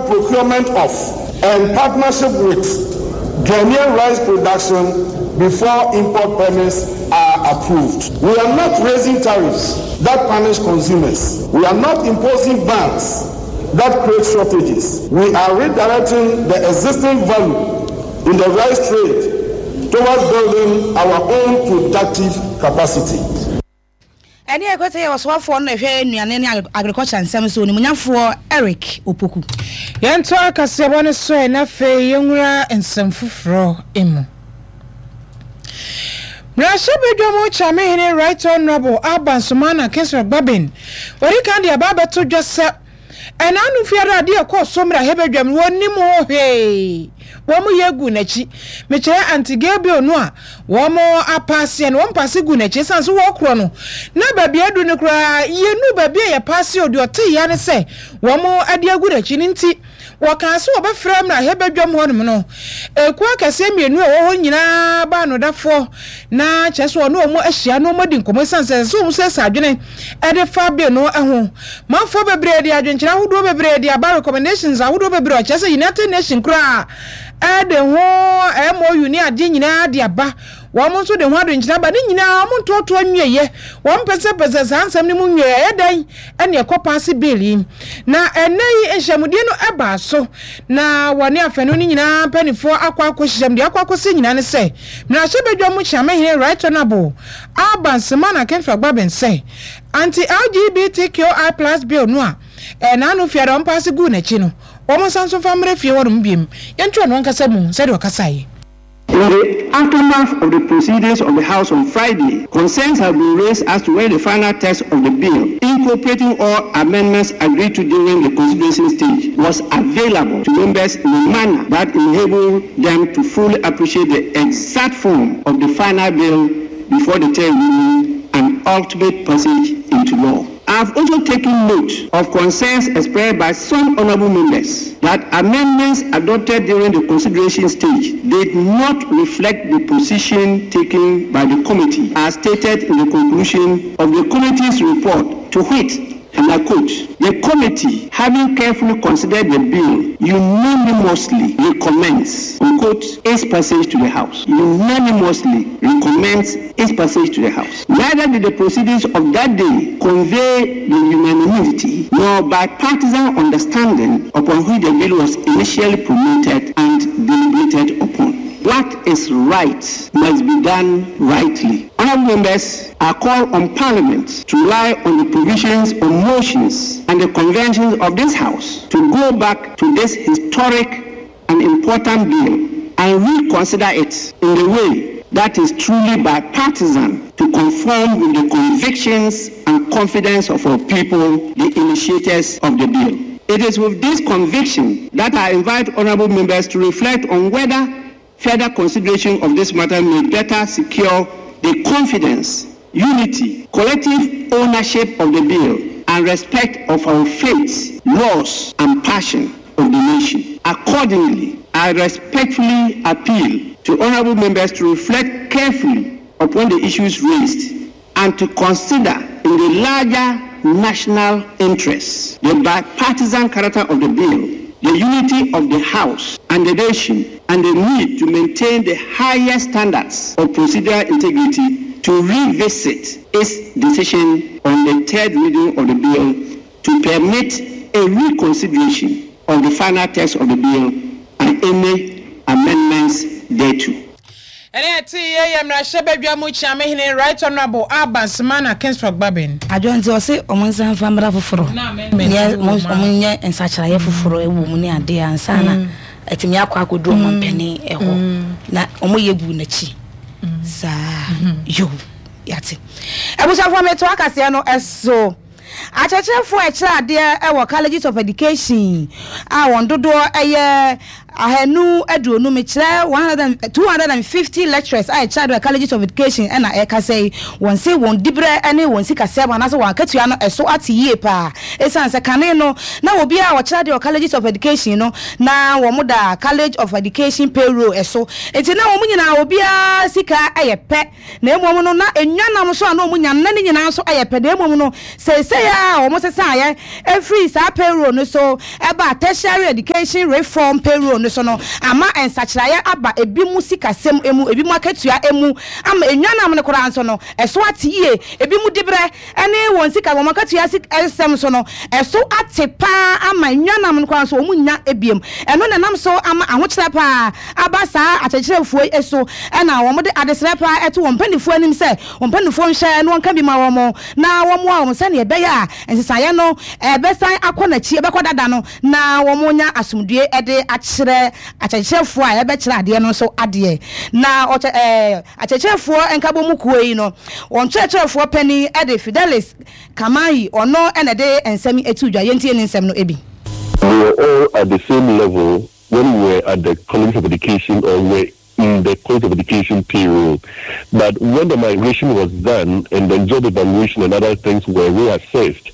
procurement of and partnership with Ghanaian rice production before import permits are approved. We are not raising tariffs that punish consumers. We are not imposing bans that create shortages. We are redirecting the existing value in the rice trade towards building our own productive capacity. Ɛne ɛkɔ sɛ yɛ ɔsoafoɔ no na ɛhwɛ nnuane ne agriculture nsɛm so, Onimuonyamfoɔ Eric Opoku. Yɛntoa kaseɛbɔ no so ɛ na afei yɛnwura nsɛm foforɔ mu. Mmarahyɛbadwam Kyeamehene Right Honourable Alban Sumana Kingsford Bagbin wadi kan de aba abɛto dwa sɛ Ɛnaano fiada adeɛ a ɛkɔɔ so mmarahyɛbadwam no wɔnnim ho hwee. Wɔn yɛ guu n'akyi. Mekyerɛ Aunty Gail Bill no a wɔn apaaseɛ no, wɔn paase guu n'akyi ɛsiane sɛ wɔkorɔ no na baabi a aduru no koraa yɛnnuu baabi a yɛpaase o, deɛ ɔteeɛ ara ne sɛ wɔn de agu n'akyi no nti wɔkaa sɛ wɔbɛfrɛ mmarahyɛbadwam hɔnom no ekuo akɛseɛ mmienu a ɛwɔ hɔ nyinaa baanodafoɔ na kyerɛ sɛ ɔne wɔn ahyia na wɔadi nkɔmmɔ ɛsiane sɛ ɛsɛ sɛ wɔn siesie adwene de fa bill no ho. Manfoɔ bebree de adwenkyerɛ ahodoɔ bebree de aba, recommendations ahodoɔ bebree ɔkyerɛ sɛ United Nation koraa de ho MOU ne adeɛ nyinaa de aba. Wɔn nso de ho adwenkyerɛ aba. Ne nyinaa wɔn ntoatoa nwieɛ. Wɔn pɛsɛpɛsɛ saa nsɛm no mu nwieɛ. Ɛyɛ dɛn ɛne ɛkɔ paase bill yi? Na ɛnnɛ yi nhyiamudie no ɛbaa so na wɔne afanu no nyinaa mpaninfoɔ akɔ akɔhyiam. Deɛ akɔ akɔsi nyinaa ne sɛ Mmarahyɛbadwa mu Kyeamehene Right Honourable Alban Semana Kemfra Gbabin sɛ Anti-LGBTQI plus bill no a ɛnaano fiada wɔn paase guu n'akyi no, wɔn nsa nso mfa mmra fie hɔnom biom. Yɛnto ɔno ankasa mu sɛdeɛ ɔkasaeɛ. In the aftermath of the proceedings of the House on Friday, concerns have been raised as to whether the final text of the bill, incorporating all amendments agreed to during the consideration stage, was available to members in a manner that enabled them to fully appreciate the exact form of the final bill before the third reading and ultimate passage into law. I have also taken note of concerns expressed by some honourable members that amendments adopted during the consideration stage did not reflect the position taken by the committee as stated in the conclusion of the committee's report to wit and I quote, The committee, having carefully considered the bill, unanimously recommends, unquote, its passage to the House. Unanimously recommends its passage to the House. Neither did the proceedings of that day convey the unanimity nor bipartisan understanding upon which the bill was initially promoted and deliberated upon. What is right must be done rightly. Honourable members, I call on Parliament to rely on the provisions on motions and the conventions of this House to go back to this historic and important bill and reconsider it in the way that is truly bipartisan to conform with the convictions and confidence of our people, the initiators of the bill. It is with this conviction that I invite honourable members to reflect on whether further consideration of this matter may better secure the confidence, unity, collective ownership of the bill, and respect of our faith, laws, and passion of the nation. Accordingly, I respectfully appeal to honourable members to reflect carefully upon the issues raised and to consider in the larger national interest the bipartisan character of the bill, the unity of the House and the nation, and the need to maintain the highest standards of procedural integrity to revisit its decision on the third reading of the bill to permit a reconsideration of the final text of the bill and any amendments thereto. Ɛnne a ɛtee yei yɛ Mmarahyɛbadwa mu Kyeamehene Right Honourable Alban Semana Kingsford Gbabin. Adwo nti ɔse ɔmo nsan nfa mmra foforɔ nyɛ ɔmo nyɛ nsakyeraeɛ foforɔ ɛwɔ mu ne adeɛ ansa na atumi akɔ akɔduru ɔmampanin ɛhɔ na ɔmo yɛ guu n'akyi saa yoo yate abusuafoɔ metoa kaseɛ no ɛso. Akyerɛkyerɛfoɔ a ɛkyerɛ adeɛ wɔ Colleges of Education a wɔn dodoɔ yɛ. 250, mekyerɛ 100, 250 lecturers a ɛkyerɛ adeɛ wɔ Colleges of Education na ɛrekasa yi, wɔn se wɔn diberɛ ne wɔn sikasɛm anaasɛ wɔn akatua no ɛso ate yie paa. Ɛsiane sɛ kane no na obiara a ɔkyerɛ adeɛ wɔ Colleges of Education no na wɔn da College of Education payroll so, nti na wɔn nyinaa obiara sika yɛ pɛ. Na mmom no, na nnwanam nso a na wɔnya no, na ne nyinaa nso yɛ pɛ, na mmom no, seesei a wɔsesaeɛ firii saa payroll no so baa Tertiary Education Reform payroll no so no, ama nsakyeraeɛ aba ebinom sikasɛm mu, ebinom akatua mu, ama nnwanam no koraa nso no, ɛso ate yie, ebinom diberɛ ne wɔn sika, wɔn akatua nsɛm nso no, ɛso ate pa ara ama nnwanam no koraa nso wɔnnya biom. Ɛno na ɛnam so ama ahokyerɛ pa ara aba saa akyerɛkyerɛfoɔ yi so, ɛna wɔde adesrɛ pa ara to wɔn mpanimfoɔ anim sɛ wɔn mpanimfoɔ nhwɛ na wɔnka bi ma wɔn na wɔmmoa wɔn sɛdeɛ ɛbɛyɛ a nsesaeɛ no bɛsan akɔ n'akyi, ɛbɛkɔ dada no, na wɔanya asomdwoeɛ de akyerɛ akyerɛkyerɛfoɔ a ɛbɛkyerɛ adeɛ no nso adeɛ. Na ɔkyɛ ɛɛ. Akyerɛkyerɛfoɔ Nkabɔmu Kuo yi no, wɔn kyerɛkyerɛfoɔ panin de Fidelis Kamayi, ɔno na ɛde nsɛm yi too dwa. Yɛntie ne nsɛm no bi. We were all at the same level when we were at the College of Education or were in the College of Education payroll. But when the migration was done and then job evaluation and other things were reassessed,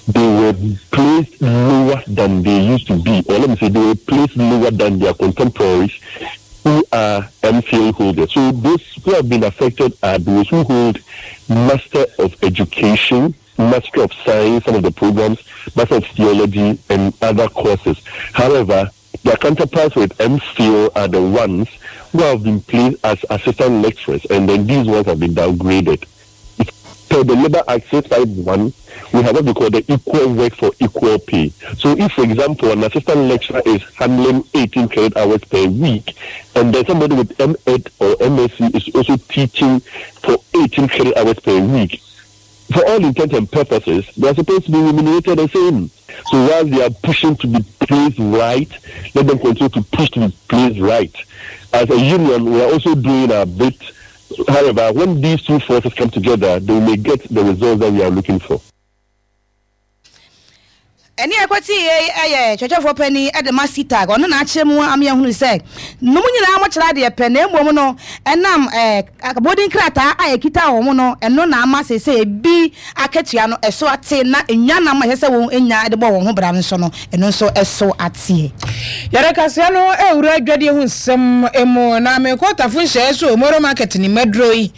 they were placed lower than they used to be, or let me say, they were placed lower than their contemporaries who are MPhil holders. So those who have been affected are those who hold Master of Education, Master of Science, some of the programs, Master of Theology, and other courses. However, their counterparts with MPhil are the ones who have been placed as assistant lecturers, and then these ones have been downgraded. Per the Labour Act 651, we have what we call the equal work for equal pay. So if, for example, an assistant lecturer is handling 18 credit hours per week, and then somebody with M.Ed or MSc is also teaching for 18 credit hours per week, for all intents and purposes, they are supposed to be remunerated the same. So while they are pushing to be placed right, let them continue to push to be placed right. As a union, we are also doing our bit. However, when these two forces come together, they may get the results that we are looking for. Ɛnne a ɛkɔtee yei yɛ kyerɛkyerɛfoɔ panin de ma CTAG. Ɔno na akyerɛ mu ama yɛahunu sɛ nom nyinaa mokyerɛ adeɛ pɛ na mmom no ɛnam abɔdin krataa a ɛkita wɔn no ɛno na ama seesei ebi akatua no ɛso ate na nnwanam a ɛsɛ sɛ wɔn nya de bɔ wɔn ho bra no nso no ɛno nso ɛso ateɛ. Yɛde kaseɛ no rewura adwadie ho nsɛm mu na mekɔ Tafo nhyɛeɛ so Moro Market ne maduro yi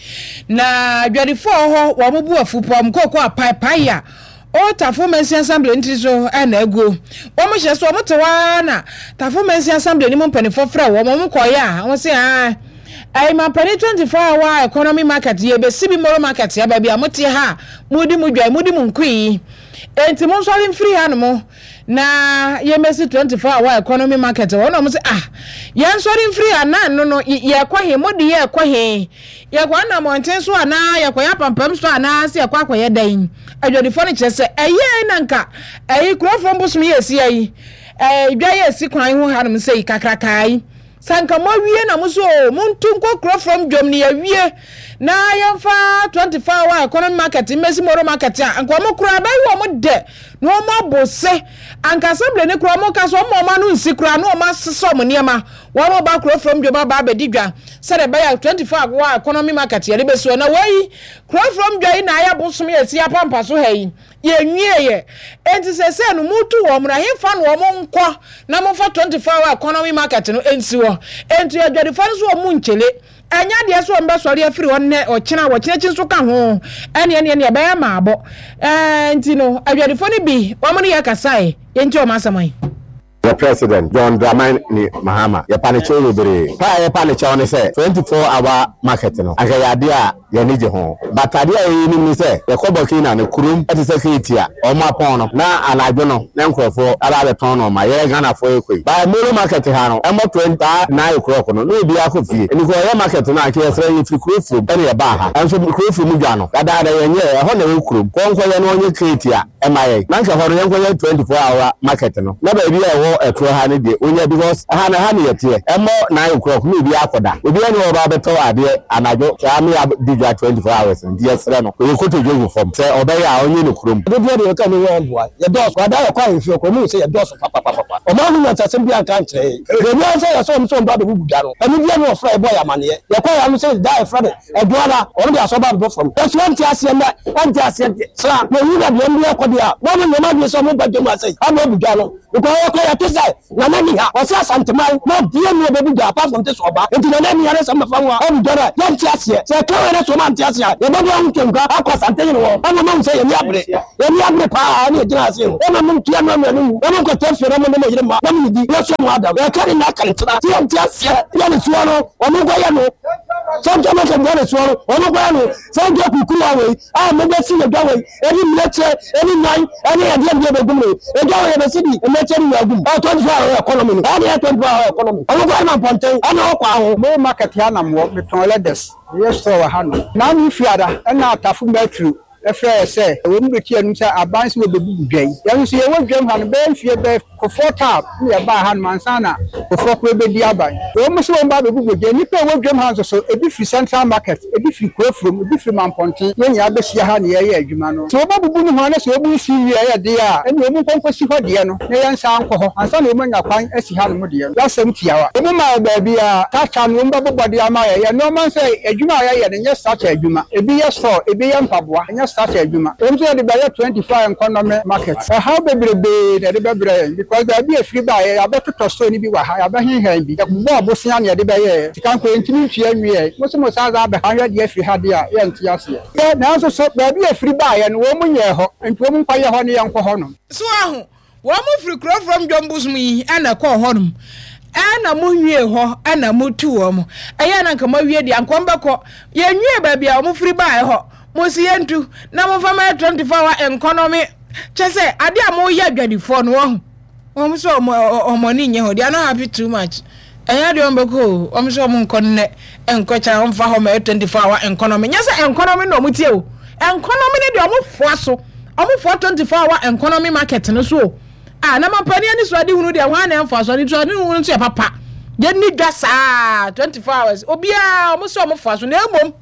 na adwadifoɔ wɔ hɔ wɔn bo afu paa wɔn kooko apaepae a Old Tafo Mansin Assembly no tiri so na aguo. Wɔn hyɛ so wɔn te hɔ ara na Tafo Mansin Assembly no mu mpanimfoɔ frɛ wɔn, wɔn kɔeɛ a wɔn se aa ɛyi mampanin 24 hour economy market yɛbɛsi bi Moro Market ha baabi a mote ha a modi mo dwa modi mo nkui yi enti monsɔre mfiri ha nom na yɛmmɛsi 24 hour economy market hɔ na wɔn se ah yɛnsɔre mfiri ha na no no yɛkɔ he mode yɛkɔ he Yɛkɔ ana mmɔnten so anaa yɛkɔyɛ apampam so anaa sɛ yɛkɔ akɔyɛ dɛn? Adwadifoɔ no kyerɛ sɛ ɛyɛɛ na nka ɛyi kurofoɔ mbosom yɛ esi ayi ɛɛ dwa yɛ esi kwan ho hanom sɛ yi kakrakaa yi sɛ nka moawie na mo so o montu nkɔ kurofoɔ dwom no yɛawie na yɛmfa 24 hour economy market mmɛsi moro market a nka wɔn koraa bɛyɛ wɔn dɛ na wɔn abo se anka assembly ne koraa wɔn ka so wɔn wɔn ano nsi koraa na wɔn asesa wɔn nneɛma wɔn ba kurofoɔ dwom aba abɛdi dwa Sɛdeɛ ɛbɛyɛ a 24 hour economy market yɛde bɛsi hɔ na wei kuro from dwa yi na ayɛ bosom yɛ si apampa so ha yi yɛnwieɛ enti sɛsɛ no mutu wɔn no ɛhefa na wɔn nkɔ na momfa 24 hour economy market no nsi hɔ enti adwadifoɔ no so wɔn nkyele ɛnyɛ adeɛ sɛ wɔn bɛsɔre afiri hɔ nnɛ ɔkyena wɔkyena akyi nso ka ho ɛne ɛne ɛne ɛbɛyɛ maabɔ ɛɛ nti no adwadifoɔ no bi wɔn ne yɛ kasae yɛnti wɔn asɛm yi. Yɛ President John Dramani Mahama, yɛpa no kyɛw bebree. Pa a yɛpa no kyɛw ne sɛ 24 hour market no, anka ɛyɛ adeɛ a yɛn ani gye ho. But adeɛ a yɛnim ne sɛ, yɛkɔ Burkina no, kurom te sɛ Keiti a, wɔn apɔn no, na anadwo no na nkurɔfoɔ aba abɛtɔn nnoɔma. Yɛn Ghanafoɔ yɛkɔ yi. But Molo market ha no, ɛmmɔ 20 nine o'clock no, na obiara akɔ fie. Nti kɔ yɛ market no a, anka yɛsrɛ, yɛfiri kuro furom na yɛbaa ha. Nso kuro furom dwa no, dadaada yɛnyɛɛ, ɛhɔ na ɛwɔ kurom. Kɔ nkɔyɛ na wɔnyɛ Keiti a. Ɛma yɛn. Na anka ɛhɔ no yɛnkɔyɛ 24 hour market no. Na baabi a ɛwɔ. ɛwɔ ɛtorɔ ha no deɛ ɔnya because ɛha no ɛha ne yɛteɛ. Ɛmmɔ nine o'clock na obiara akɔda. Obiara nni hɔ a ɔba abɛtɔ adeɛ anadwo saa me adi dwa 24 hours no nti yɛsrɛ no ɔyɛ kotodwe gu fam sɛ ɔbɛyɛ a ɔnyɛ no kurom. Dodoɔ deɛ yɛka ne ho mboa yɛdɔɔso ada yɛkɔ ahemfie hɔ koraa ɔmo hu sɛ yɛdɔɔso papapapapa ɔmo anhu nyansasɛm biaa anka ankyerɛ yɛn baabi ara sɛ yɛsɛ ɔmo sɛ ɔmo ba abɛbubu dwa no ɛno biaa ne ɔfrɛ yɛbɔɔ yɛn amaneɛ yɛkɔɔ yɛ ano sɛ da a yɛfrɛ no Ɛdoara ɔno de asɔ ba bɛbɔ fam. Nanso wɔnte aseɛ nnɛ, wɔnte aseɛ kyena. Na owu na deɛ ɔmo yɛ kɔ deɛ a, wɔn nyɛ wɔn adwene sɛ ɔmo ba dwam ase ama abu dwa no. Because yɛkɔ yɛte sɛ Nana nni ha, ɔse Asanteman na obia nni hɔ ɔbɛbu dwa apart from te sɛ ɔba. Nti Nana nni ha na sɛ ɔmo bɛfa ho a abu dwa no a, yɛnte aseɛ. Sɛ yɛka wei na sɛ ɔmo ante aseɛ a, yɛbɛde ahotonkwa akɔ Asantehene hɔ ama ɔmo ahu sɛ yɛn ani abere. Yɛn ani abere paa na yɛgyina ase ho. Ɛma mo ntua no amena no nwu, na monkɔtena fie na mo ne mo yere mma na monnidi, na yɛsoa mo adam. Yɛka ne nna aka ne tena. Sɛ yɛnte aseɛ, yɛ ne soɔ no, ɔmo nkɔyɛ no. Sɛ nka mɛka dwa ne soɔ no, ɔmo nkɔyɛ no. Sɛ nka kukuruwa wei a mobɛsi yɛ dwa wei, ɛne mmirekyɛ, ɛne nnwan, ɛne ɛdeɛ deɛ bɛgum no. Edwa wei yɛbɛsi bi mmirekyɛ ne nnwan gum. Ɔ 24 hour economy no, ɛne yɛ 24 hour economy. Ɔmo nkɔyɛ no mampɔnten, ɛne ɔkɔ aho. Mo market ha na mowɔ, metɔn leathers, meyɛ store wɔ ha nom. Naanu Fiada ɛna Atafo Matthew frɛɛ yɛ sɛ wɔn bɛti anom sɛ aban sɛ wɔbɛbubu dwa yi. Yɛn nso yɛwɔ dwam ha no bɛyɛ mfeɛ bɛyɛ Kufuor term na yɛbaa hanom ansa na Kufuor koraa bɛdi aban. Wɔn sɛ wɔn ba abɛbubu dwa yi. Nnipa a ɛwɔ dwam ha nso so, ebi firi Central Market, ebi firi Kurofurom, ebi firi Mampɔnten, yɛn nyinaa bɛhyia ha na yɛreyɛ adwuma no. Sɛ wɔbɛbubu no ho a na sɛ wɔn nsi wie a ɛyɛ deɛ a, ɛnneɛ wɔn nkɔ nkɔsi hɔ deɛ no na yɛnsan nkɔ hɔ ansa na wɔn anya kwan asi hanom deɛ no. Y'asɛm tiawa. Wɔn maa yɛ baabi a structure no wɔn bɛbobɔ de ama yɛ. Yɛn nnoɔma nso adwuma a yɛyɛ no nyɛ structure adwuma. Ebi yɛ store, ebi yɛ mpaboa, ɛnyɛ structure adwuma. Wɔn nso yɛde bɛyɛ 24 hour economy market. Ɛhaw bebrebee na ɛde bɛbrɛ yɛn because baabi a ɛfiri baeɛ yɛabɛtotɔ store no bi wɔ ha, yɛabɛhenhɛn bi, yɛbobɔɔ bosea na yɛde bɛyɛɛ. Sika nko yɛntumi ntua nwieɛ. Mo se mo san san abɛha hwɛ deɛ afiri ha deɛ a, yɛnte aseɛ. Yɛ, nanso so baabi a ɛfiri baeɛ no wɔn nyɛɛ hɔ, nti wɔn nkɔyɛ hɔ ne yɛnkɔ hɔ nom. So woahu? Wɔn firi kuro from dwom bosom yi ɛna ɛkɔɔ hɔ nom ɛna mo nwie hɔ ɛna mo tu wɔn ɛyɛ na nka mo awie deɛ anka wɔn bɛkɔ yɛn nwie baabi a wɔn firi baa ɛhɔ mo si yɛn tu na mo nfa ma yɛ 24 hour economy kyɛ sɛ adeɛ a mo yɛ adwadifoɔ no wɔn wɔn sɛ wɔn wɔn ani nyɛ hɔ they are not happy too much ɛnyɛ adeɛ wɔn bɛkɔ o wɔn sɛ wɔn nkɔ nnɛ nkɔ kyɛn wɔn fa hɔ ma yɛ 24 hour economy nyɛ sɛ economy na wɔn tie o economy ne deɛ wɔn foa so. Ɔmo foa 24 hour economy market no so o. Ah, na mampanin anisoadehunu deɛ hwan na ɛmfa so? Anisoadehunu nso yɛ papa. Yɛnni dwa saa 24 hours. Obiara ɔmo sɛ ɔmo foa so na emom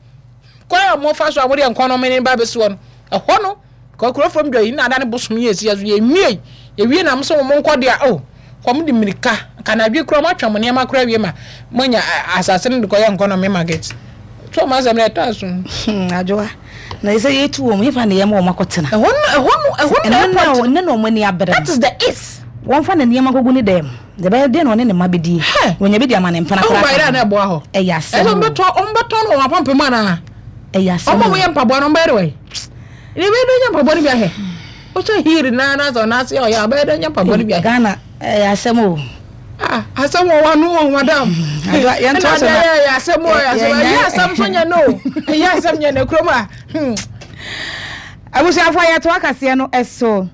kwan a ɔmo fa so a ɔmo de economy no ba bɛsi hɔ no, ɛhɔ no kɔ kuro fam dwa yi na ada ne bosom yi esi so yɛnwie yɛwie na ɔmo sɛ ɔmo nkɔ deɛ oh kɔm de mmirika kanadwe kura ɔmo atwa mo nneɛma kora wie ma mo anya asase no de kɔyɛ economy market. So ɔmo asɛm no ɛtɔ aso. Hmm, adwoa. Na ɛsɛ yɛtu wɔn, hefa na yɛma wɔn akɔtena? Ɛhɔ no, ɛhɔ no, ɛhɔ no na airport. Ɛno na wɔn ani abere. That is the is. Wɔmfa ne nneɛma nkɔgu ne dan mu. Deɛ ɛbɛyɛ deɛ na ɔne ne mma bɛdie. Wɔnya bi de ama ne mpena koraa ka ho. Ɛho hɔ. Ɛyɛ asɛm o. Ɛsɛ wɔbɛtɔ, wɔbɛtɔn no wɔn apampam anaa? Ɛyɛ asɛm o. Wɔn a wɔyɛ mpaboa no, wɔbɛyɛ de wɔn. Deɛ ɛbɛyɛ dɛ nya mpaboa no bi ahwɛ. Wohyɛ heel naa na sɛ ɔnan ase ɔyɛ a, ɔbɛyɛ dɛ nya mpaboa no bi ahwɛ. Ghana, ɛyɛ asɛm o. Ah, asɛm wɔ w'ano o, madam. Yɛn to so na. Ɛyɛ asɛm o, ɛyɛ asɛm. Ɛyɛ asɛm so nyɛ no o. Ɛyɛ asɛm nyɛ no kurom a. Hmm. Abusuafo yɛto akaseɛ no so.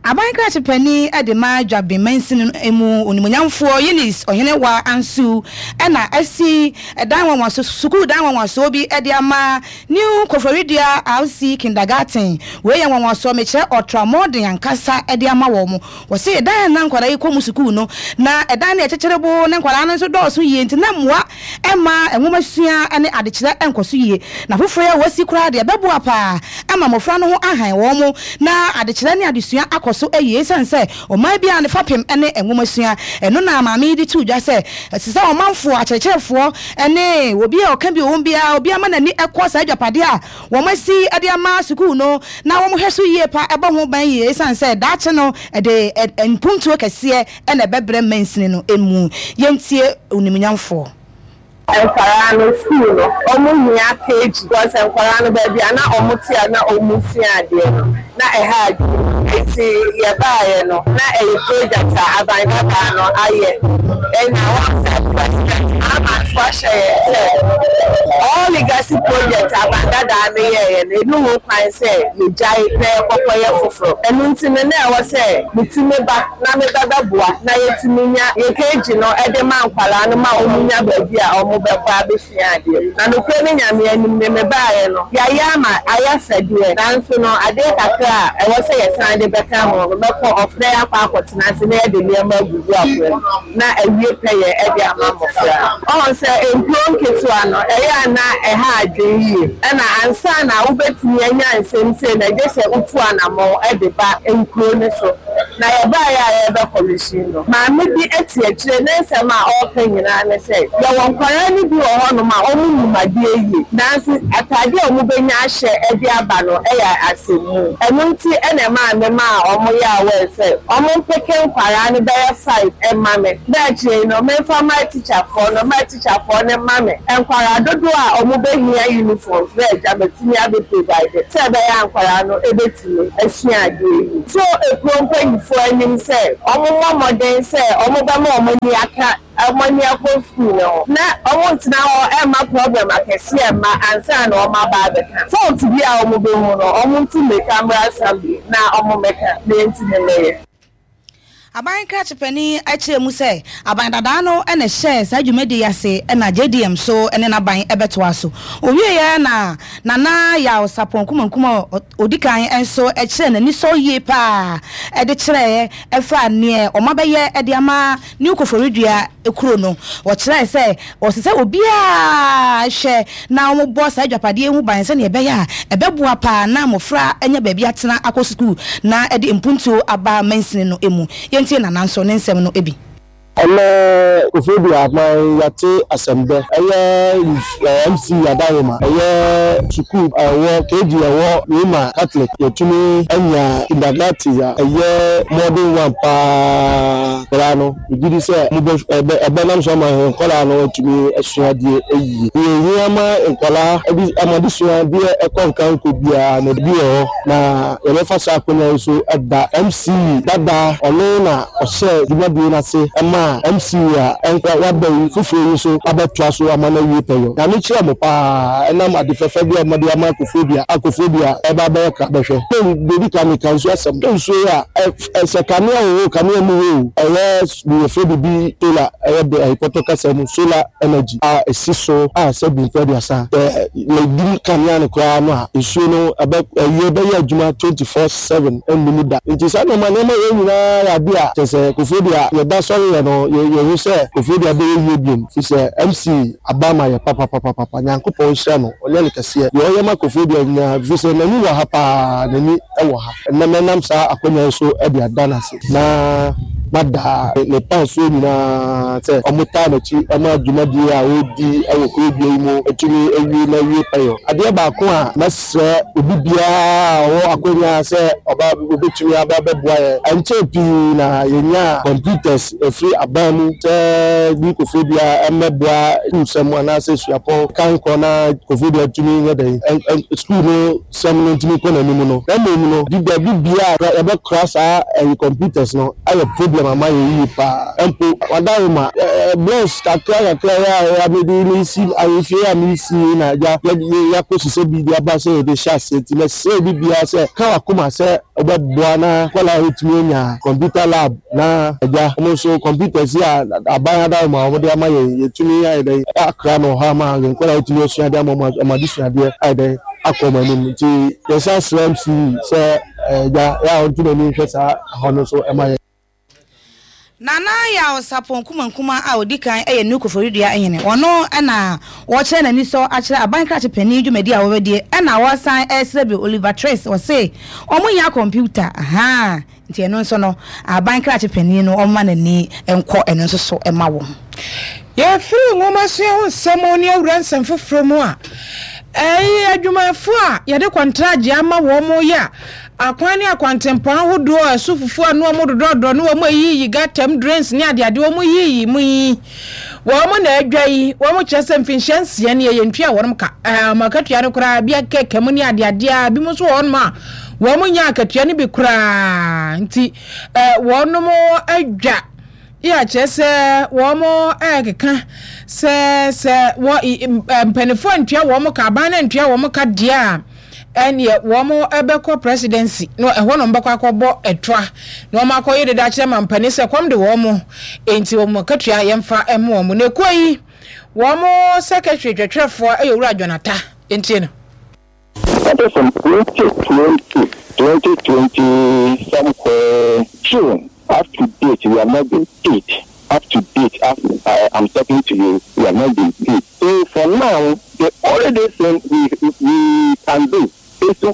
Aban krakye panin de ma Dwaben mansini no mu onimuonyamfoɔ Eunice Ɔhenewaa Ansu na asi dan nwanwaso sukuu dan nwanwasoɔ bi de ama New Koforidua RC Kindergarten. Wei yɛ nwanwasoɔ mekyerɛ ɔtramɔden ankasa de ama wɔn. Wɔse dan a na nkwadaa yi kɔ mu sukuu no, na ɛdan no yɛ kyekyerebo na nkwadaa no nso dɔɔso yie nti na mmoa mma nwomasua ne adekyerɛ nkɔ so yie. Na foforɔ yi a wɔasi koraa deɛ ɛbɛboa pa ara ama mmɔfra no ho ahan wɔn na adekyerɛ ne adesua akɔ so yie ɛsiane sɛ ɔman biara ne fapem ne nwomasua. Ɛno na maame yi de too dwa sɛ ɛsɛ sɛ ɔmanfoɔ, akyerɛkyerɛfoɔ ne obi a ɔka bi wɔ mu biara, obiara ma n'ani kɔ saa agyapadeɛ a wɔasi de ama sukuu no na wɔhwɛ so yie pa bɔ ho ban yie esiane sɛ daakye no ɛde mpuntuo kɛseɛ na ɛbɛbrɛ mansini no mu. Yɛntie onimunyamfoɔ. Nkwadaa no school no ɔmo hia page because nkwadaa no baabi a na ɔmo te a na ɔmo sua adeɛ no na ɛha adwene nti yɛbaeɛ no na ɛyɛ project a aban dadaa no ayɛ ɛna wɔn sɛ president Mahama. Mpanyinfoɔ ahyɛ yɛn sɛ all legacy project aban dadaa no yɛeɛ no, ɛnni ho kwan sɛ yɛgyae na yɛkɔkɔyɛ foforɔ. Ɛno nti no, na ɛwɔ sɛ metumi ba na meba bɛboa na yɛtumi nya yɛn KG no de ma nkwadaa no ma wɔnya baabi a wɔbɛkɔ abɛsua adeɛ. Na nokorɛ ne Nyame anim no, mebaeɛ no, yɛayɛ ama ayɛ fɛ deɛ, nanso no adeɛ kakra a ɛwɔ sɛ yɛsan de bɛka ho no, mɛkɔ off na yɛakɔ akɔtena ase na yɛde nneɛma agugu akwan mu. na awie pɛyɛ de ama mmofra. Ɔho sɛ nkuro nketewa no, ɛyɛ a na ɛha adwene yie. Ɛna ansa na wobɛtumi anya nsɛm sei no, gye sɛ wotu anammɔn de ba nkuro no so. Na yɛbaeɛ a yɛrebɛ kɔmihyin no, maame bi te akyire, ne nsɛm a ɔreka nyinaa ne sɛ, yɛwɔ nkwadaa no bi wɔ hɔnom a wɔnnim adeɛ yie, nanso ataadeɛ a wɔbɛnya ahyɛ de aba no yɛ asɛmmu. Ɛno nti na ɛmaa memaa wɔyɛɛ aware sɛ wɔmpeke nkwadaa no bɛyɛ 5 mma me na akyire yi no memfa mma atikyafoɔ no ma atikyafoɔ no mma me nkwadaa dodoɔ a wɔbɛhia uniforms na agya matumi abɛ provide sɛ ɛbɛyɛ a nkwadaa no bɛtumi asua adeɛ yie. To ekuro mpaninfoɔ anim sɛ wɔmmɔ mmɔden sɛ wɔbɛma wɔn ani aka wɔn ani akɔ sukuu no ho na wɔntena hɔ mma problem akɛseɛ mma ansa na wɔn aba abɛka. Fault bi a wɔbɛhu no wɔntu mmirika mmra assembly na wɔmmɛka na yɛntumi mmɛyɛ. Aban krakye panin kyerɛɛ mu sɛ aban dadaa no na ɛhyɛɛ saa dwumadie yi ase na JDM nso ne n'aban bɛtoa so. Ɔwieeɛ na Nana Yaw Sarpong Kumankum a ɔdi kan nso kyerɛɛ n'anisɔ yie pa ara de kyerɛɛ ɛfa neɛ wɔabɛyɛ de ama New Koforidua kuro no. Ɔkyerɛɛ sɛ ɔsɛ sɛ obiara hwɛ na wɔbɔ saa agyapadeɛ yi ho ban sɛdeɛ ɛbɛyɛ a ɛbɛboa pa ara na mmɔfra anya baabi atena akɔ sukuu na ɛde mpuntuo aba mansini no mu. Yɛntie Nana nso ne nsɛm no bi. Ɛnnɛ Koforidua aban yɛate asɛm dɛ ɛyɛ MC Adaroma ɛyɛ sukuu a ɛwɔ KG ɛwɔ Roma Catholic yɛtumi anya kindergarten a ɛyɛ modern one paa koraa no. Megye di sɛ mobɛ, ɛbɛ, ɛbɛnam so ama yɛn nkwadaa no atumi asua adeɛ yie. Deɛ ɛhia ma nkwadaa de, ama adesua deɛ ɛkɔ nka nkɔ biara no, bi wɔ hɔ, na yɛbɛfa saa akonnwa yi so ada MC dada, ɔno na ɔhyɛɛ dwumadie no ase maa MC a ɛnkɔ, waba yi foforɔ yi nso abɛtoa so ama no awie pɛyɔ. Nyame nhyira mo pa ara ɛnam ade fɛfɛ bi a mode ama Koforidua a Koforidua ɛreba abɛyɛ krabɛhwɛ. Deɛ ɛdi kan meka nsuo asɛm, nsuo yi a ɛ. Sɛ kanea wɔ hɔ o, kanea nni hɔ o, ɛyɛ deɛ yɛfrɛ biribi solar, ɛyɛ de ɛyɛ pɔtɔ kasa mu solar energy a ɛsi so a sɛ bu mfeɛ aduasa sɛ yɛdum kanea no koraa no a, nsuo no ɛbɛ ɛyɛ bɛyɛ adwuma 24/7 ɛnni mu da. Nti saa nneɛma nneɛma wei nyinaa yɛ adeɛ a kyerɛ sɛ Koforidua yɛda sɔreɛ no yɛ yɛhu sɛ Koforidua bɛyɛ yie biom firi sɛ MC aba ama yɛ papapapapa Nyankopɔn nhyira no ɔnyɛ no kɛseɛ deɛ ɔyɛ ma Koforidua nyinaa firi sɛ n'ani wɔ ha paa n'ani wɔ ha. Ɛnnɛ mɛnam saa akwanya yi so de ada no ase na mada ne pamfoɔ nyinaa sɛ wɔtaa n'akyi ma dwumadie a ɔredi wɔ kurodua yi mu atumi awie na awie pɛyɔ. Adeɛ baako a mɛsrɛ obi biara a ɔwɔ akwanya sɛ ɔba ɔbɛtumi aba abɛboa yɛn, ɛnkyɛɛ pii na yɛnyaa computers ɛfiri aban mu sɛ bi Koforidua mmɛboa sukuusɛm anaasɛ suapɔn kankɔ na Koforidua tumi nyɛ dɛn sukuu no sɛm no ntumi nkɔ n'anim no, na mmom no, de baabi biara a yɛbɛkora saa ɛyi computers no ayɛ problem ama yɛn yie paa. Mpo Wadaroma, blocks kakra kakra yi a mede mesi ahemfie a mesi yi na agya yɛakɔ sisɛ bi de aba sɛ yɛde hyɛ aseɛ nti mɛsrɛ obi biara sɛ ka w'akoma sɛ wobɛboa na nkwadaa atumi anya computer lab na agya wɔn nso computers yi a aban adaroma a wɔde ama yɛn yɛtumi ayɛ dɛn akra no wɔ hɔ ama yɛn nkwadaa atumi asua adeɛ ama wɔn adesuadeɛ ayɛ dɛn akɔ wɔn anim nti yɛsan srɛ MC sɛ agya yɛ a ɔnto n'ani nhwɛ saa ɛhɔ no nso ɛma yɛn. Nana Yaw Sarpong Kumankuma a ɔdi kan yɛ New Koforidua hene. Ɔno na ɔrekyerɛ n'anisɔ akyerɛ aban krakye panin dwumadi a wɔbɛdie ɛna ɔresan resrɛ bio Oliver Twist ɔse wɔn hia kɔmputa ahaa nti ɛno nso no aban krakye panin no ɔmma n'ani nkɔ ɛno nso so ma wɔn. Yɛfiri nwomasua ho nsɛm ne awura nsɛm foforɔ mu a, ɛyɛ adwumayɛfoɔ a yɛde kɔntragye ama wɔn yɛ a akwan ne akwantempɔn ahodoɔ a ɛso fufuo a ne wɔn dodɔdodɔ ne wɔn ayiyi gutter mu drains ne adeade wɔn yiyi mu yi wɔn na adwa yi wɔn kyerɛ sɛ mfinhyia nsia nie yɛntua wɔn ka ɛɛ wɔn akatua no koraa bi akeka mu ne adeade a bi mu nso wɔ wɔn a wɔn nya akatua no bi koraa nti ɛɛ wɔn adwa. Yɛ a kyerɛ sɛ wɔrekeka sɛ sɛ wɔ mpanimfoɔ antua wɔn ka, aban no antua wɔn ka deɛ a, ɛneɛ wɔn bɛkɔ presidency na ɛhɔ na wɔbɛkɔ akɔbɔ ɛtoa na wɔn akɔyɛ deda akyerɛ mampanin sɛ kɔm de wɔn, enti wɔn akatua yɛmfa mma wɔn. Na ekuo yi wɔn secretary twɛtwerɛfoɔ yɛ Owura John Atta, yɛntie no. That is from 2020, 2020 somewhere June. Up to date, we have not been paid. Up to date, as I am talking to you, we have not been paid. So for now, the only thing we can do is to,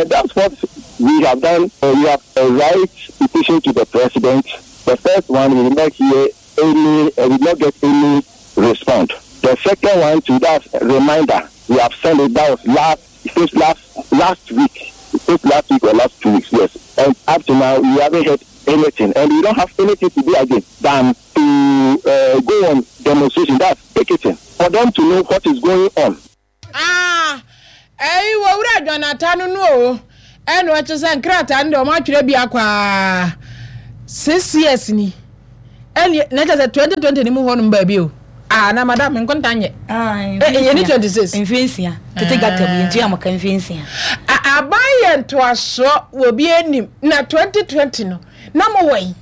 that's what we have done. We have a right petition to the president. The first one, we did not hear any, we did not get any response. The second one, to that reminder, we have sent it. That was last, since last week, since last week or last 2 weeks, yes. And up to now, we haven't heard anything, and we don't have anything to do again than to go on demonstration. That's picketing for them to know what is going on. Ah, ɛyi wɔ wura Jonathan no no o, ɛna ɔkyɛ sɛ nkrataa no deɛ wɔn atwerɛ bi akɔ aa 6 years ni, ɛne na kyɛ sɛ 2020 ni mu hɔ nom baabi o. Ah, na madam nkonta nyɛ yɛ ni 26. Mfe 6 tete gata mu yɛntua mo ka mfe 6. Aban yɛ ntoasoɔ wɔ bi anim na 2020 no na mo wɔ yi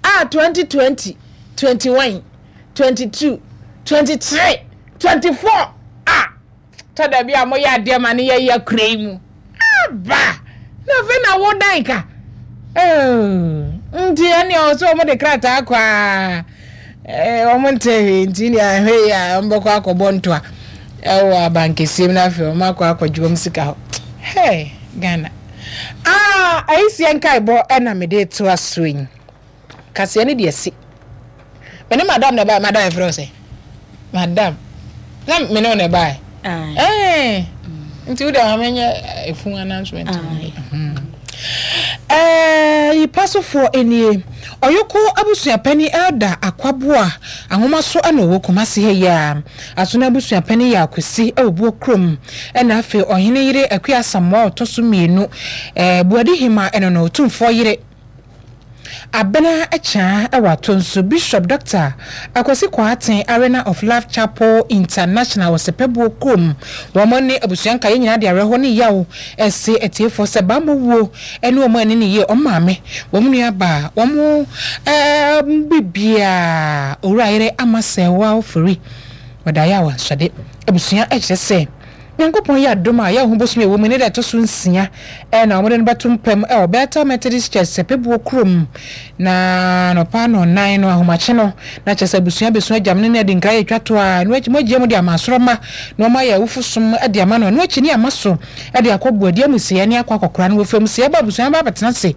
a 2020, 21, 22, 23, 24 a tɔ da bi a moyɛ adeɛ ma no yɛyɛ kura yi mu aba na afei na wo dan ka nti ɛne ɔwɔ sɛ wɔn de krataa kɔ a wɔn nte hwee, nti ne ahwɛ yi a wɔn bɛkɔ akɔbɔ ntoa ɛwɔ abankɛseɛ mu na afei wɔn akɔ akɔgye wɔn sika hɔ. Hey, Ghana ah, ayisie nkaebɔ ɛna mede to aso yi kaseɛ ne deɛ si me ne madam na ɛbaeɛ. Madam, ɛfrɛ wo sɛ madam na me ne wo na ɛbaeɛ ɛɛ nti wo deɛ ma menyɛ efun announcement. Yipa sofoɔ nie: Ɔyoko abusuapani Elder Akwaboa ahoma so ɛna ɔwɔ Kumasi ha yi a Asono abusuapani yɛ Akwasi ɛwɔ Buo kurom, ɛna afei ɔhene yere Akua Asamoah a ɔtɔ so mmienu, Buadi Hema, ɛno no Otumfoɔ yere Abena Kyaa ɛwɔ Atonsu, Bishop Dr. Akwasi Kwarteng, Arena of Love Chapel International wɔ Sɛpɛbuo kurom, wɔn ne abusua nkaeɛ nyinaa de awerɛhoɔ ne yaw ɛse atiefoɔ sɛ bammɔ wuo ɛne wɔn ani ne yie wɔn maame, wɔn nua baa, wɔn biribiara, Owura yere Ama Sɛɛwa Ofori, wɔda ayɛ awansɔde. Abusua ɛkyerɛ sɛ Nyankopɔn yɛ adom a, yɛahu bosome a ɛwɔ mu ne da ɛtɔ so 6 na wɔde no bɛto mpam wɔ Bethel Methodist Church, Sɛpɛbuo kurom, na anɔpa nnɔnnan no, ahomakye no, na kyerɛ sɛ abusua bɛsu agyam no ne adi nkra yɛ twa to a, ɛno akyi moagyia mu de ama asorɔmma na wɔayɛ awufo som de ama no, ɛno akyi ne ama so de akɔ Boadi amusieɛ ne akɔ akɔkora no wɔ fam sɛ ɛba abusua no ba abɛtena ase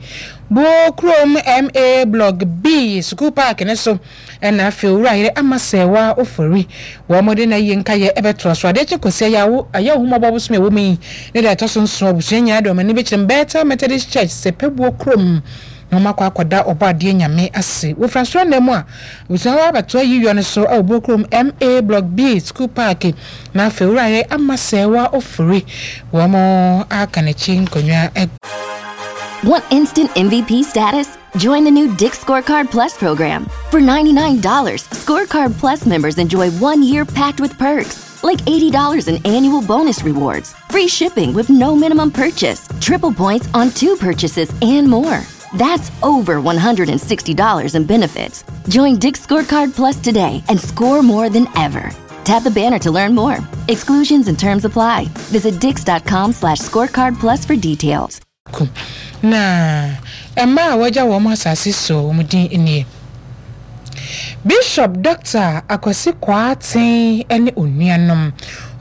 Buo kurom MA Block B sukuu paake no so. Ɛna afei Owura yere Ama Sɛɛwa Ofori, wɔn de n'ayie nkaeɛ bɛtoa so. Adeɛ kye Kwasi Ayawo, Ayɛwohomɔbɔ bosome a ɛwɔ mu yi ne da ɛtɔ so nson, abusua nyinaa de wɔn ani bɛkyerɛ Bethel Methodist Church, Sɛpɛbuo kurom na wɔn akɔ akɔda Ɔbɔadeɛ Nyame ase. Wɔfiri asɔre nna mu a, abusua hɔ abɛtoa ayiyɔ no so wɔ Buo kurom MA Block B School Park na afei Owura yere Ama Sɛɛwa Ofori, wɔn aka n'akyi nkonnwa agu. Want instant MVP status? Join the new Dick's Scorecard Plus program. For $99, Scorecard Plus members enjoy 1 year packed with perks, like $80 in annual bonus rewards, free shipping with no minimum purchase, triple points on two purchases, and more. That's over $160 in benefits. Join Dick's Scorecard Plus today and score more than ever. Tap the banner to learn more. Exclusions and terms apply. Visit dicks.com/scorecard plus for details. Ko na mmaa a wɔagya wɔn asase so wɔn din nie: Bishop Dɔkta Akwasi Kwarteng ne onuanom.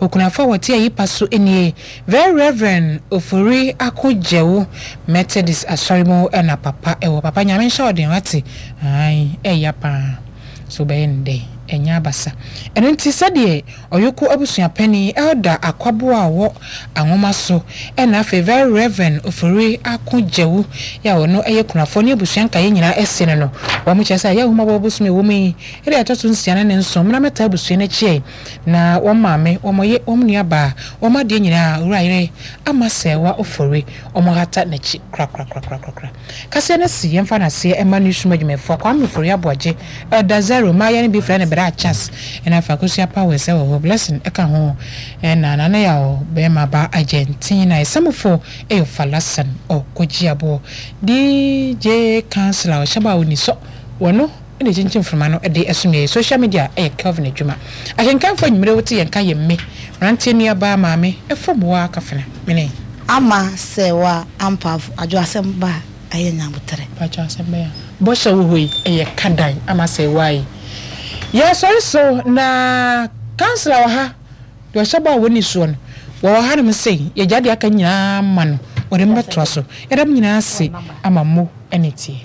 Okunafo a wɔte Ayipa so nie: Very Reverend Ofori Ako Gyewu, Methodist Asɔre mu na papa wɔ. Papa Nyame nhyɛ wo den wate. Ae, ɛya paa. So wobɛyɛ no dɛn? Ɛnyɛ abasa. Ɛno nti sɛdeɛ Ɔyoko abusua panin, Elder Akwaboah a ɔwɔ Anwoma so, ɛna afei Very Rev. Ofori Ako Gyawu yi a ɔno yɛ kunafoɔ ne abusua nkaeɛ nyinaa se no no, wɔn kyerɛ sɛ ayɛ ahummɔbɔ bosome a ɛwɔ mu yi da a ɛtɔ so nsia ne ne nson mmra mmɛtaa abusua no akyi ɛ na wɔn maame, wɔn ye, wɔn nua baa, wɔn adeɛ nyinaa, Owura yere Ama Sɛɛwa Ofori, wɔn hata n'akyi korakorakorakorakora. Kaseɛ no se yɛmfa no aseɛ mma Newsroom adwumayɛfoɔ Kwame Ofori Aboagye, Elder Zero, mmayewa no bi frɛ no Bra Chas, ɛna afei Akosua Powers wɔ hɔ, Blessing ka ho, ɛna Nana Yaw barima ba Argentina, Ɛsamufo yɛ Falasan, Ɔkɔgye Aboɔ, DJ Councilor ɔhyɛ bɔ a ɔnni sɔ, wɔno na ɛkyinkyin mframa no de som yɛn, Social media yɛ Kelvin adwuma. Akenkanfoɔ anwummere wote yɛn nka yɛ mme, mmeranteɛ nuabaa maame, fam hɔ ara kafena, mene. Ama sɛ wa ampa adwo asɛm ba a ɛyɛ nyaboterɛ. Mpakyɛw asɛm bɛn a bɔhyɛ wɔ hɔ yi ɛyɛ ka dan ama sɛ wa yi yɛ sɔre so na councilor wɔ ha deɛ ɔhyɛ bɔ a wɔnni soɔ no wɔwɔ ha nom sei yɛgya deɛ aka nyinaa ma no wɔde mbɛtoa so yɛda mo nyinaa ase ama mo ɛne tie.